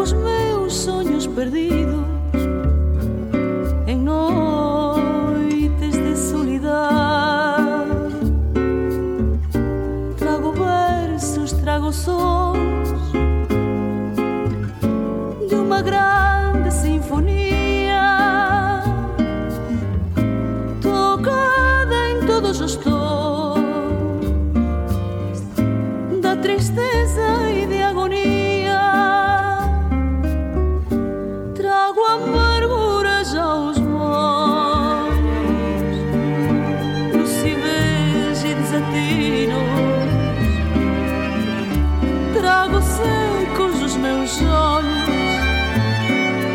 trago os meus sonhos perdidos en noites de solidad. Trago versos, trago sons de unha grande sinfonía, tocada en todos os tons da tristeza e de agonía. Trago amargura já aos molhos, lucidez e desatinos. Trago secos os meus olhos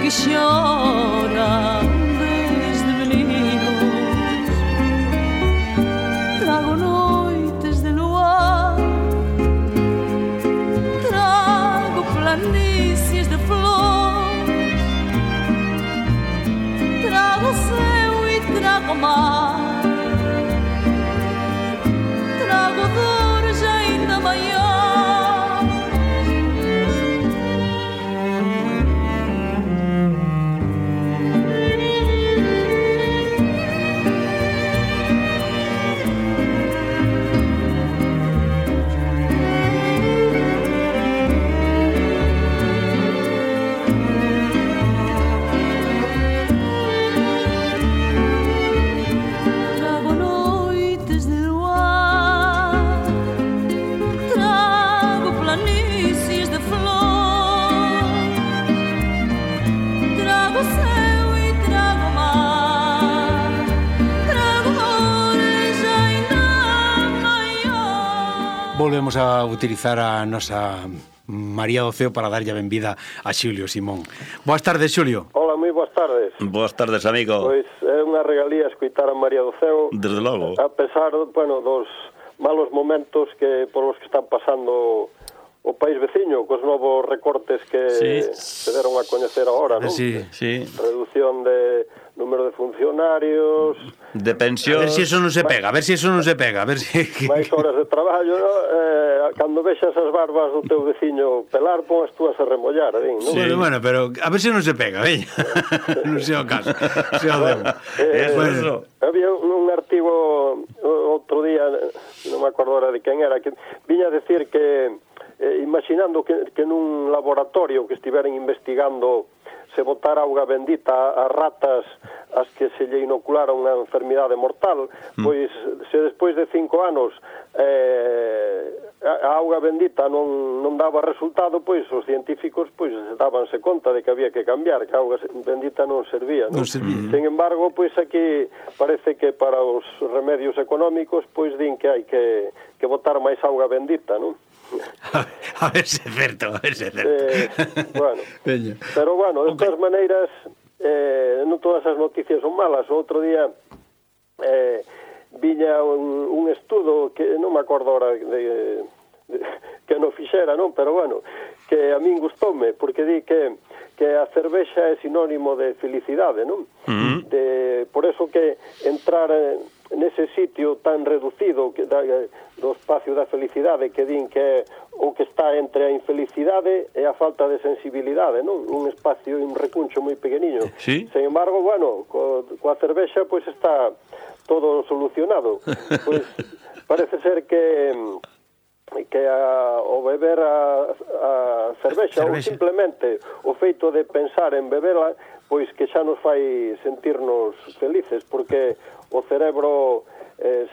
que choram desde meninos. Trago noites de luar, trago planícies de flores, trago céu e trago mar, trago dores ainda maiores. Trago noites de luar, trago planícies de flor, trago céu e trago mar, trago dores ainda maiores. Volvemos a utilizar a nosa María do Ceo para darlle a benvida a Xulio Simón. Boas tardes, Xulio. Hola, moi boas tardes. Boas tardes, amigo. Pois é unha regalía escoitar a María do Ceo, Desde logo. a pesar, bueno, dos malos momentos que por os que están pasando o país veciño, cos novos recortes que Sí. se deron a coñecer agora, non? Sí. Sí. Reducción de número de funcionarios, De A pensión. ver si eso non se pega, a ver si eso non se pega, a ver si... máis horas de traballo, non? Cando vexas as barbas do teu veciño pelar, pon as túas a remollar, non? Sí. Bueno, pero a ver si non se pega, veña. Non sei o caso. Se o demo. Eso. Había un artigo outro día, non me acordo ahora de quen era, que viña a decir que imaginando que nun laboratorio que estiveran investigando se botara auga bendita a ratas as que se lle inoculara unha enfermidade mortal, pois se despois de 5 anos a auga bendita non daba resultado, pois os científicos pois dábanse conta de que había que cambiar, que a auga bendita non servía, non? Sin embargo, pois aquí parece que para os remedios económicos pois din que hai que botar máis auga bendita, non? A ver se é certo, a ver se é certo. Bueno, Veña. pero bueno, de todas maneiras non todas as noticias son malas. O outro día viña un estudo que non me acordo ahora de que non fixera, non? Pero bueno, que a min gustoume, porque di que a cervexa é sinónimo de felicidade, non? Por eso que entrar nese sitio tan reducido do espacio da felicidade, que din que é o que está entre a infelicidade e a falta de sensibilidade, non? Un espacio, un recuncho moi pequeniño. Sí. Sin embargo, bueno, coa cervexa pois está todo solucionado. Pois parece ser que o beber a cervexa ou simplemente o feito de pensar en bebela, pois que xa nos fai sentirnos felices, porque o cerebro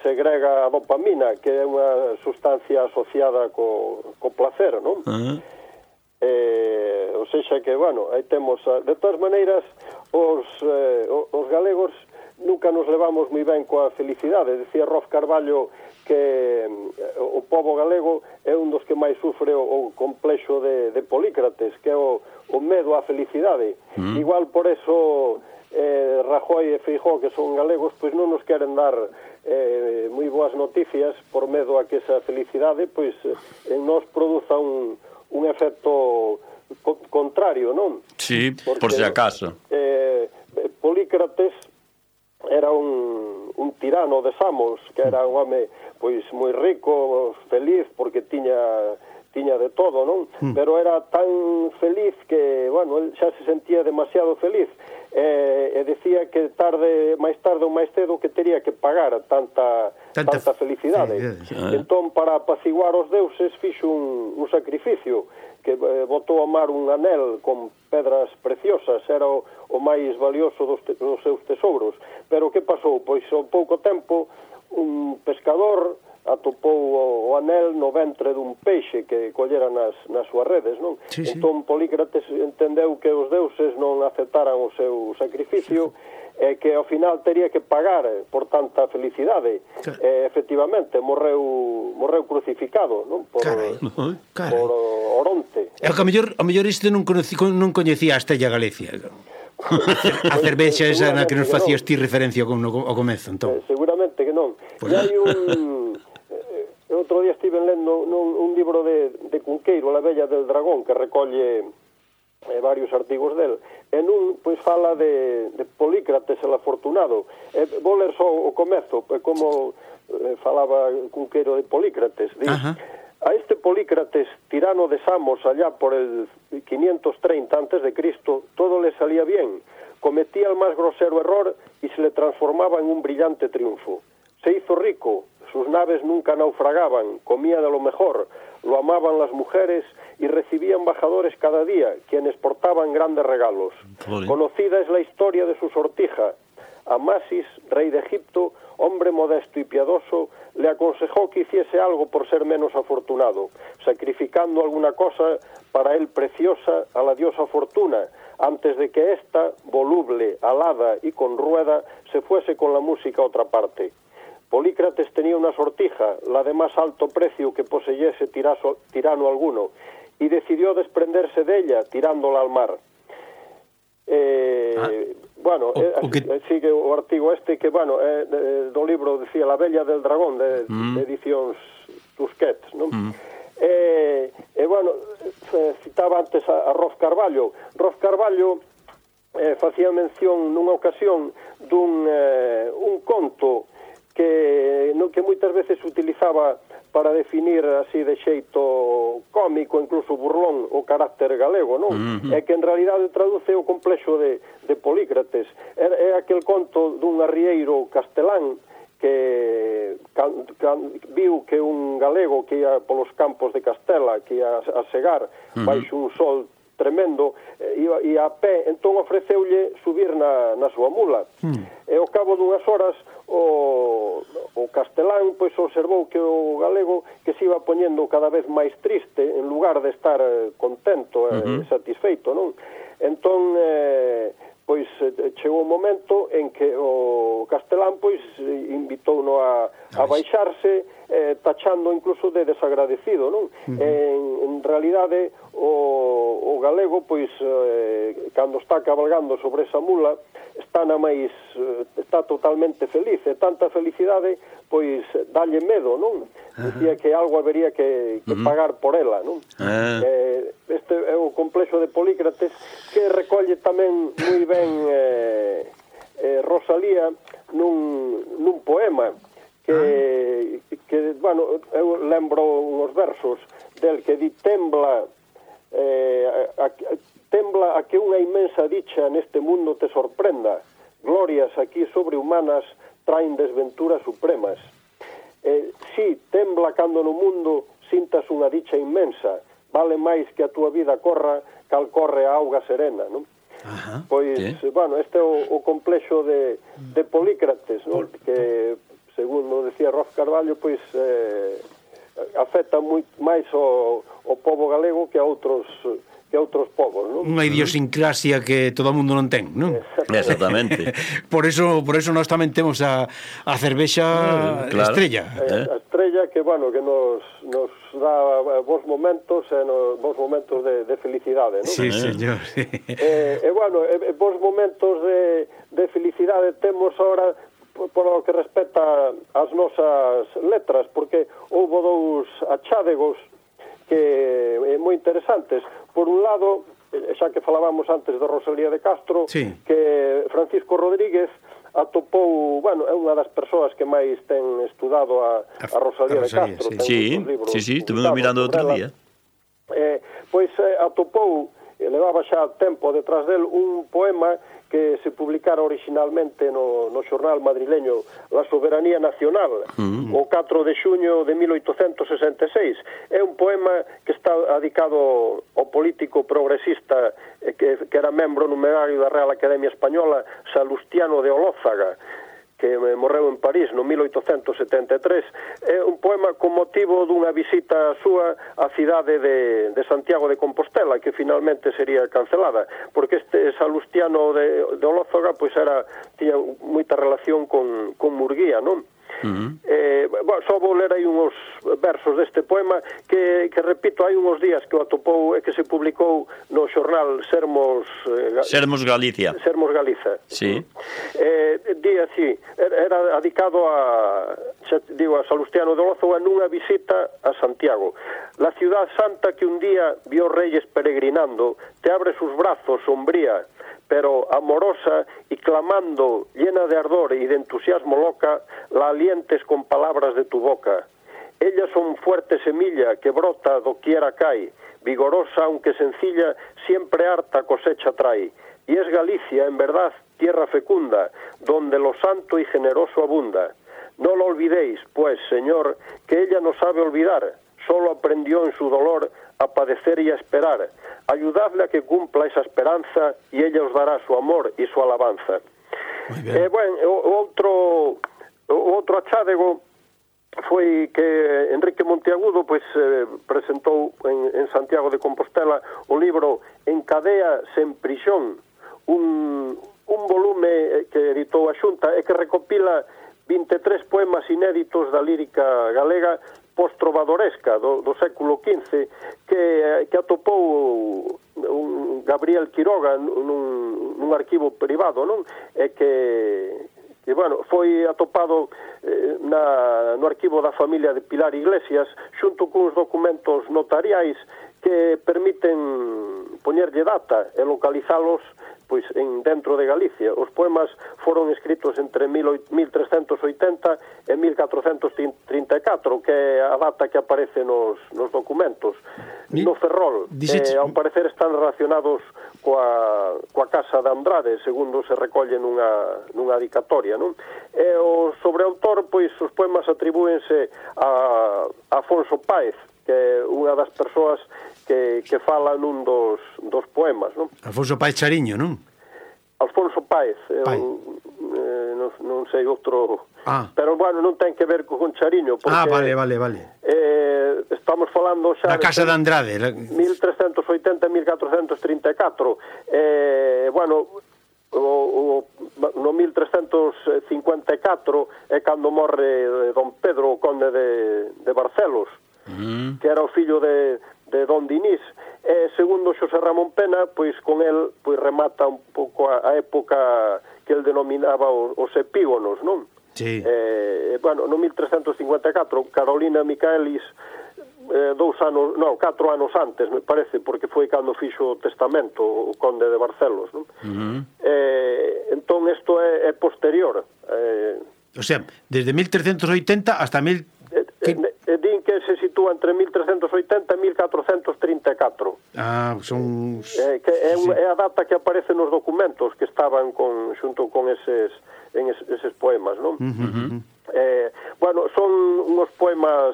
segrega a dopamina, que é unha sustancia asociada co placer, non? Ou seja que, bueno, aí temos... De todas maneiras, os galegos nunca nos levamos moi ben coa felicidade. Decía Rof Carballo que o pobo galego é un dos que máis sufre o complexo de Polícrates, que é o medo á felicidade. Igual por eso Rajoy e Feijóo, que son galegos, pois non nos queren dar moi boas noticias por medo a que esa felicidade pois en nos produza un efecto contrario, non? Sí, por si acaso. Polícrates era un tirano de Samos, que era un home pois moi rico, feliz, porque tiña de todo, non? Pero era tan feliz que, bueno, el xa se sentía demasiado feliz, e decía que máis tarde ou máis cedo que teria que pagar tanta felicidade. Entón, para apaciguar os deuses, fixo un sacrificio, que botou a mar un anel con pedras preciosas, era o máis valioso dos seus tesouros. Pero que pasou? Pois ao pouco tempo un pescador atopou o anel no ventre dun peixe que collera nas súas redes, non? Entón Polícrates entendeu que os deuses non aceptaran o seu sacrificio e que ao final teria que pagar por tanta felicidade. Efectivamente, morreu crucificado, non? Por Oronte. É que a mellor isto non coñecía a Estella Galicia. A cervexa esa na que nos facías ti referencia ao comezo, entón. Seguramente que non. E hai outro día estive lendo un libro de Cunqueiro, La Bella del Dragón, que recolle varios artigos del, e nun pois fala de Polícrates el afortunado. Vou ler só o comezo, como falaba Cunqueiro de Polícrates. A este Polícrates, tirano de Samos allá por el 530 a.C., todo le salía bien. Cometía el más grosero error y se le transformaba en un brillante triunfo. Se hizo rico, sus naves nunca naufragaban, comía de lo mejor, lo amaban las mujeres y recibía embajadores cada día, quienes portaban grandes regalos. Conocida es la historia de su sortija. Amasis, rey de Egipto, hombre modesto y piadoso, le aconsejó que hiciese algo por ser menos afortunado, sacrificando alguna cosa para él preciosa a la diosa Fortuna, antes de que ésta, voluble, alada y con rueda, se fuese con la música a otra parte. Polícrates tenía una sortija, la de más alto precio que poseyese tirano alguno, y decidió desprenderse de ella, tirándola al mar. Bueno, sigue o artigo este que, bueno, do libro, decía, La Bella del Dragón, de edicións Tusquets, non? Bueno, citaba antes a Rof Carballo. Rof Carballo facía mención nunha ocasión dun conto que moitas veces se utilizaba para definir así de xeito cómico, incluso burlón, o carácter galego, non? É que en realidade traduce o complexo de Polícrates. É aquel conto dun arrieiro castelán que viu que un galego que ia polos campos de Castela, que ia a segar baixo un sol tremendo, e a pé, entón ofreceulle subir na súa mula. E ao cabo dunhas horas o castelán pois observou que o galego que se iba poñendo cada vez máis triste en lugar de estar contento e satisfeito, non? Entón pois chegou un momento en que o castelán pois invitou-no a baixarse, tachando incluso de desagradecido, non? En realidade o galego pois cando está cabalgando sobre esa mula está totalmente feliz, e tanta felicidade pois dalle medo, non? Dicía que algo habería que pagar por ela, non? Este é o complexo de Polícrates, que recolle tamén moi ben Rosalía nun poema que bueno, eu lembro uns versos del que di: tembla a que unha inmensa dicha neste mundo te sorprenda, glorias aquí sobrehumanas traen desventuras supremas. Si, tembla cando no mundo sintas unha dicha inmensa, vale máis que a túa vida corra cal corre a auga serena, non? Pois, bueno, este é o complexo de Polícrates, non? Que, segundo decía Rof Carballo, pois afecta moito máis o pobo galego que a outros povos, non? Unha idiosincrasia que todo o mundo non ten, non? Exactamente. Por eso nós tamén temos a cervexa Estrella. A Estrella que, bueno, que nos dá bons momentos de felicidade, non? Sí, señor. Bueno, bons momentos de felicidade temos ahora por o que respecta ás nosas letras, porque houve dous achádegos que moi interesantes. Por un lado, xa que falábamos antes de Rosalía de Castro, que Francisco Rodríguez atopou, bueno, é unha das persoas que máis ten estudado a Rosalía de Castro. Sí, estuvemos mirando outro día. Pois atopou levaba xa tempo detrás del un poema que se publicara originalmente no xornal madrileño La Soberanía Nacional, o 4 de xuño de 1866. É un poema que está dedicado ao político progresista que era membro numerario da Real Academia Española, Salustiano de Olózaga, que morreu en París no 1873. É un poema con motivo dunha visita súa á cidade de Santiago de Compostela, que finalmente sería cancelada, porque este Salustiano de Olózaga pois tiña moita relación con Murguía, non? Só vou ler aí uns versos deste poema que repito, hai uns días que o atopou e que se publicou no xornal Sermos Galicia. Sermos Galiza. Sí. Di así, era dedicado a Salustiano de Olózaga nunha visita a Santiago. La ciudad santa que un día vio reyes peregrinando, te abre sus brazos sombría, pero amorosa y clamando, llena de ardor y de entusiasmo loca, la alientes con palabras de tu boca. Ellas son fuerte semilla que brota doquiera cae, vigorosa aunque sencilla, siempre harta cosecha trae. Y es Galicia, en verdad, tierra fecunda, donde lo santo y generoso abunda. No lo olvidéis, pues, Señor, que ella no sabe olvidar, solo aprendió en su dolor a padecer y a esperar. Ayudadle a que cumpla esa esperanza y ella os dará su amor y su alabanza. Outro achádego foi que Enrique Monteagudo presentou en Santiago de Compostela o libro Encadea sen prisión, un volume que editou a Xunta e que recopila 23 poemas inéditos da lírica galega post-trovadoresca do século XV que atopou un Gabriel Quiroga nun arquivo privado, non? E que foi atopado no arquivo da familia de Pilar Iglesias xunto cuns documentos notariais que permiten poñerlle data e localizalos dentro de Galicia. Os poemas foron escritos entre 1380 e 1434, que é a data que aparece nos documentos. No Ferrol, ao parecer están relacionados coa casa de Andrade, segundo se recolle nunha dedicatoria, non? E o sobreautor, os poemas atribúense a Afonso Páez, que é unha das persoas que fala nun dos poemas, non? Afonso Páez Chariño, non? Alfonso Páez, non sei outro... Pero, non ten que ver con Chariño, porque... Vale. Estamos falando xa... Da casa de Andrade. 1380 e 1434. No 1354 é cando morre don Pedro, o conde de Barcelos, que era o fillo de don Dinís. Segundo Xosé Ramón Pena, con el remata un pouco a época que el denominaba os epígonos, non? Sí. No 1354, Carolina Micaelis 4 anos antes, me parece, porque foi cando fixo o testamento o conde de Barcelos, non? Entón isto é posterior. O sea, desde 1380 hasta din que se sitúa entre 1380 e 1434. Son... É a data que aparece nos documentos que estaban xunto con eses poemas, non? Son unos poemas,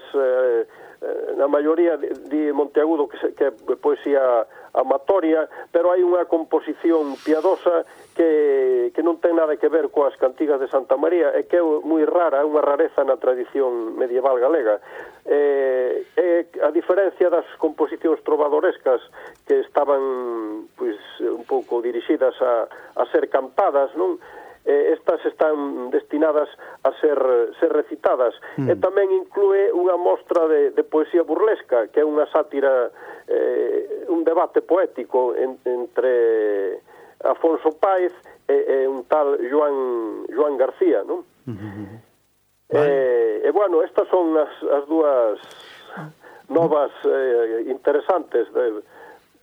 na maioría de Monteagudo que é poesía amatoria, pero hai unha composición piadosa que non ten nada que ver coas cantigas de Santa María e que é moi rara, é unha rareza na tradición medieval galega. A diferencia das composicións trovadorescas que estaban un pouco dirixidas a ser cantadas, non? Estas están destinadas a ser recitadas. E tamén inclúe unha mostra de poesía burlesca, que é unha sátira, un debate poético entre Afonso Páez e un tal Joan García, non? Estas son as dúas novas interesantes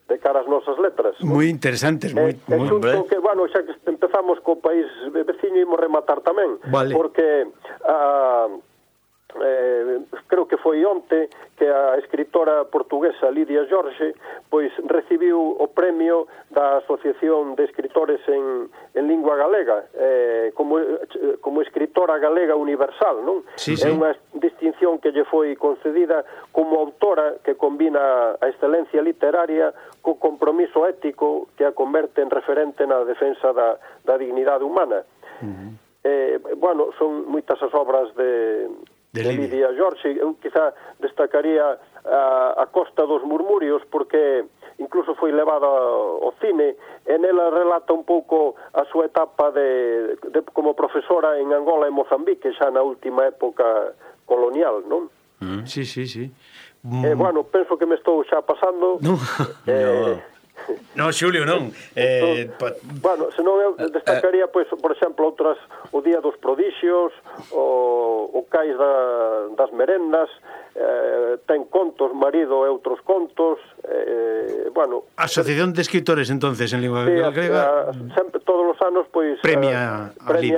de cara ás nosas letras. Moi interesantes, moi que, xa que empezamos co país veciño, imos rematar tamén, porque creo que foi onte que a escritora portuguesa Lidia Jorge pois recibiu o premio da Asociación de Escritores en lingua galega como escritora galega universal, non? Sí. É unha distinción que lle foi concedida como autora que combina a excelencia literaria co compromiso ético que a converte en referente na defensa da dignidade humana. Bueno, son moitas as obras de Lidia Jorge. Eu quizá destacaría a Costa dos Murmurios, porque incluso foi levada ao cine, e nela relata un pouco a súa etapa de como profesora en Angola e Mozambique, xa na última época colonial, non? Sí. Bueno, penso que me estou xa pasando. No, Xulio, non. Bueno, senón eu destacaría, pois, por exemplo, outras, o Día dos Prodixios, o Cais das Merendas, ten contos, Marido e outros contos, bueno... Asociación de Escritores, entonces, en lingua galega. Sempre, todos os anos, pois, premia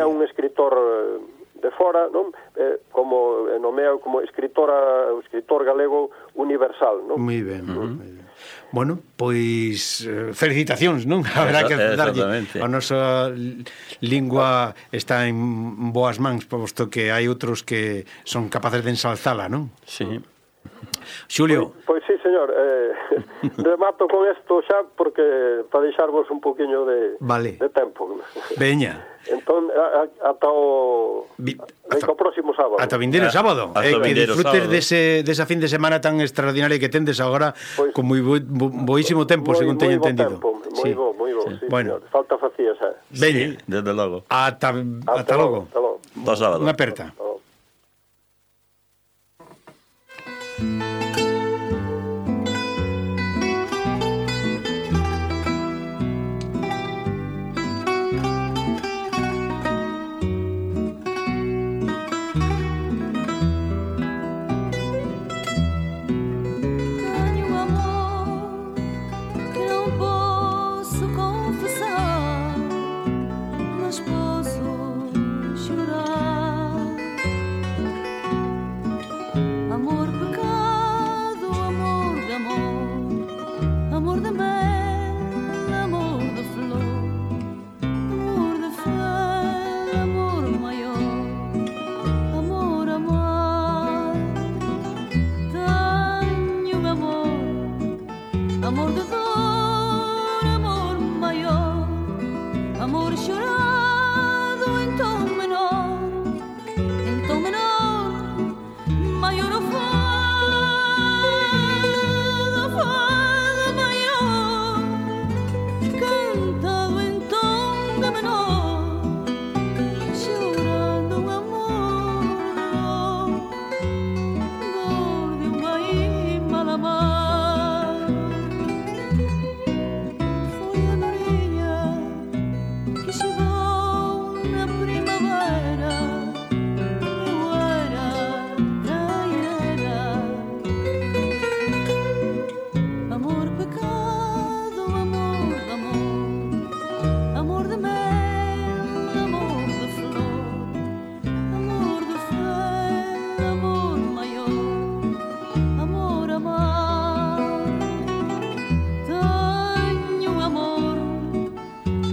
un escritor de fora, non? Como nomea como escritor galego universal, non? Moi ben, moi ben. Bueno, pois felicitacións, non? Haberá que darlle. A nosa lingua está en boas mans, posto que hai outros que son capaces de ensalzala, non? Sí. Xulio. Pois sí, señor. Remato con isto xa, porque para deixarvos un poquinho de tempo. Veña. Entón, ata o próximo sábado. Ata vindeiro sábado. Que disfrutes desa fin de semana tan extraordinaria que tendes agora, pues, con moi boísimo tempo, según teño entendido. Moi bo, sí, bueno. Señor. Falta facía xa. Veña. Sí, desde logo. Ata logo. Hasta sábado. Unha aperta.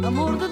Amor de